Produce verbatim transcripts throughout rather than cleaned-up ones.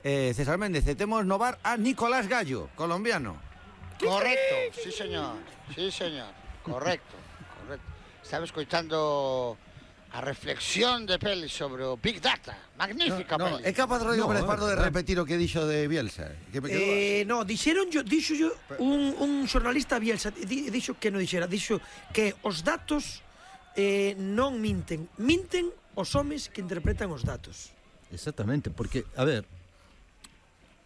eh, César Méndez, e temos no bar a Nicolás Gallo, colombiano. Correcto, sí señor, sí señor, correcto, correcto. Estaba escoitando a reflexión de Peli sobre o Big Data, magnífica No, no, Peli. é capaz Rodrigo No, Pérez Pardo de eh, repetir o que dixo de Bielsa, que me quedou Eh, no, dixeron yo, dixo yo un, un xornalista Bielsa, di, dixo que non dixera, dixo que os datos eh, non minten, minten os homes que interpretan os datos. Exactamente, porque, a ver,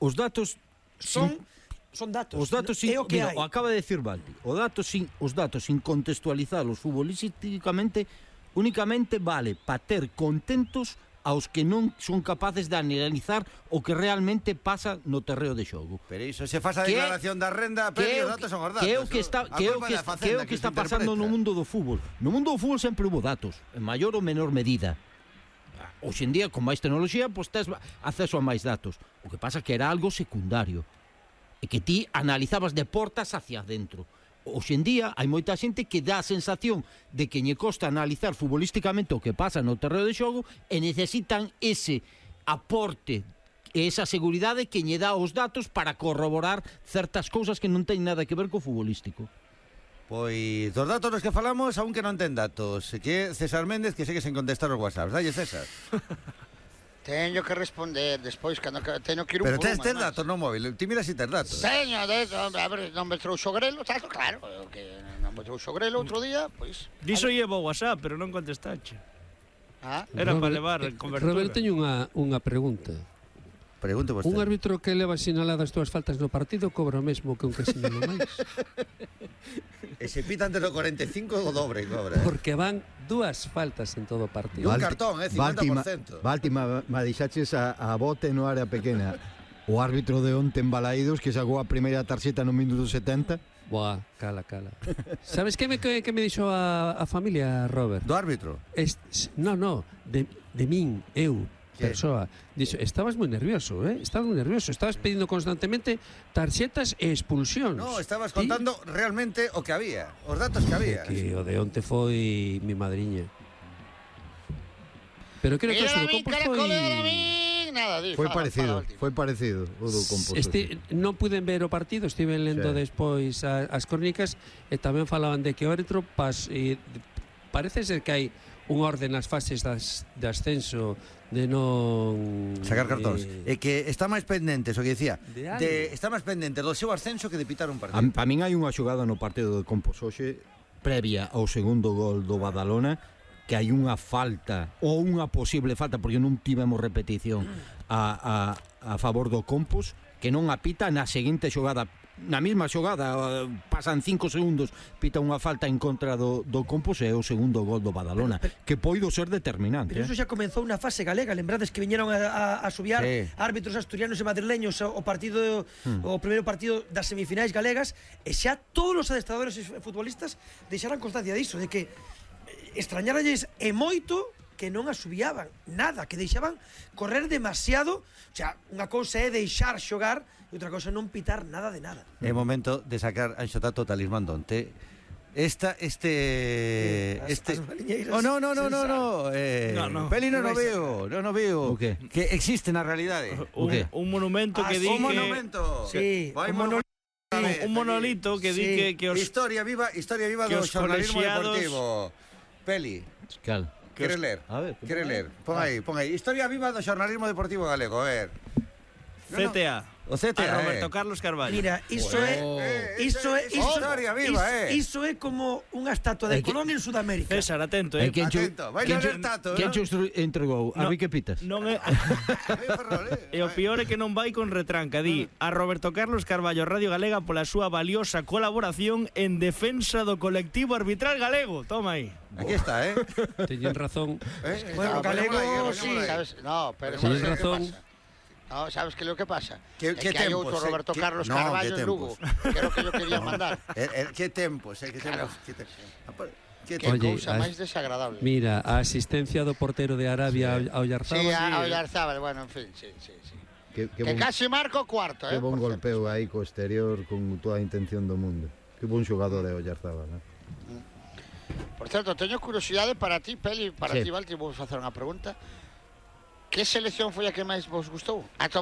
os datos Son sin, son datos. os datos sin, é o que mira, hai. o acaba de decir Valdi, o datos sin, os datos sin contextualizalos futbolísticamente únicamente vale para ter contentos aos que non son capaces de analizar o que realmente pasa no terreo de xogo. Pero iso se faz a Que- declaración da renda, Que Peli, é os o datos que- son os datos. que é o que está A que é o culpa que, da que é Facenda o que se está pasando no interpreta. mundo do fútbol. No mundo do fútbol sempre hubo datos, en maior ou menor medida. Hoxe en día, con máis tecnoloxía, pois tes acceso a máis datos. O que pasa que era algo secundario. E que ti analizabas de portas hacia adentro. Hoxe en día hai moita xente que dá a sensación de que lle costa analizar futbolísticamente o que pasa no terreo de xogo e necesitan ese aporte e esa seguridade que lle dá os datos para corroborar certas cousas que non teñen nada que ver co futbolístico. Pois dos datos dos que falamos, aún que non ten datos, que é César Méndez que segue sen contestar os WhatsApps. Dalle, César. Teño que responder despois, cando teño que ir un Pero por tes, un, tes ademais. datos no móvil, ti mira si tes datos. Teño, de, hombre, a ver, non me trouxo grelo, tato, claro, o que non me trouxo grelo outro día, pois... Diso llevo WhatsApp, pero non contestache. Ah, Era para Robert, levar eh, cobertura. Robert, teño unha, unha pregunta. Pregunte vostede. Un árbitro que leva sinaladas túas faltas no partido cobra o mesmo que un que sinala máis? E se pita antes do cuarenta e cinco o dobre cobra. Porque van dúas faltas en todo o partido. Un cartón, eh, cincuenta por ciento. Balti, ma, ma deixaches a, a bote no área pequena. O árbitro de onte en Balaídos que sacou a primeira tarxeta no minuto setenta. Buah, cala, cala. Sabes que me, que, que me dixo a, a familia, Robert? Do árbitro. Es, no, no, de, de min, eu, ¿Qué? persoa. Dixo, estabas moi nervioso, eh? Estabas moi nervioso. Estabas pedindo constantemente tarxetas e expulsións. No, estabas Ti- contando realmente o que había, os datos que había. Que o de onte foi mi madriña. Pero creo que mira eso a do min, Compos cara, foi... colera, a min, nada, di, Foi fala, parecido, fala, foi parecido o do Compos. Este, non puden ver o partido, estive lendo Sí. despois a, as crónicas e tamén falaban de que o árbitro pas, e, parece ser que hai un orde nas fases das, de ascenso de non... Sacar cartóns. eh, E que está máis pendente, o que dicía, De algo. de, está máis pendente do seu ascenso que de pitar un partido. Para min hai unha xogada no partido de Compos hoxe previa ao segundo gol do Badalona que hai unha falta ou unha posible falta porque non tivemos repetición a, a, a favor do Compos que non apita na seguinte xogada na mesma xogada, pasan cinco segundos pita unha falta en contra do, do Compos e é o segundo gol do Badalona que poido ser determinante. Pero iso xa comezou unha fase galega, lembrades que viñeron a, a, a subiar Sí. árbitros asturianos e madrileños o partido hmm. o primeiro partido das semifinais galegas e xa todos os adestradores e futbolistas deixaran constancia diso, de que extrañaralles e moito que non asubiaban nada, que deixaban correr demasiado. O sea, unha cousa é deixar xogar e outra cousa é non pitar nada de nada. É momento de sacar Anxo Tato o talismán donte. Esta, este... As- este... as baliñeiras Oh, no, no, no, no, sen no. Eh, No, no. Peli non o Non vai veo, non o veo. O qué? Que existe na realidade. Un, qué? un monumento Ah, que sí, di Un que... monumento. Sí, Vai un monolito. Un, un monolito que di Sí. que, que os... Historia viva, historia viva que do os xornalismo colexiados- deportivo. Peli, Cal. que queres os- ler? A ver, Queres ler? Pon aí, pon aí. Historia viva do xornalismo deportivo galego, a ver. No, C T A. O C T A, A Roberto eh. Carlos Carballo. Mira, iso é Eh, iso é iso- iso historia viva, eh. Iso é como unha estatua de É que- Colón en Sudamérica. César, atento, E eh. quen cho- Atento, vai quen ler cho- Tato, quen ¿no? cho estru- entregou? A No. vi que pitas. Non é... Ai, Ferrol, eh. E o peor é que non vai con retranca. Di a Roberto Carlos Carballo Radio Galega pola súa valiosa colaboración en defensa do colectivo arbitral galego. Toma aí. Aquí está, eh. Teñen razón. Eh, Bueno, ah, galego, poñémola aí, sí. poñémola aí. sabes, no, pero Teñes sabes o que razón. pasa? No, sabes que lo que pasa? Que- É que que hai tempos, outro eh, Roberto que- Carlos no, Carballo que en Lugo, que era o que yo quería mandar. Eh, eh, que tempos, eh, que Claro. tempos. Que tempos. Ah, pues, que Que tempos. Oye, cousa as- máis desagradable. Mira, a asistencia do portero de Arabia sí. ao Oyarzábal. Sí, a Oyarzábal, bueno, en fin, sí, sí, sí. Que, que, Que bon, casi marco cuarto, que eh. bon por golpeo aí co exterior con toda a intención do mundo. Que bon xogador é Oyarzábal, eh? cierto. Por certo, teño curiosidade para ti, Peli, para Sí. ti, Valti, vou facer unha pregunta. Que selección foi a que máis vos gustou? Ata o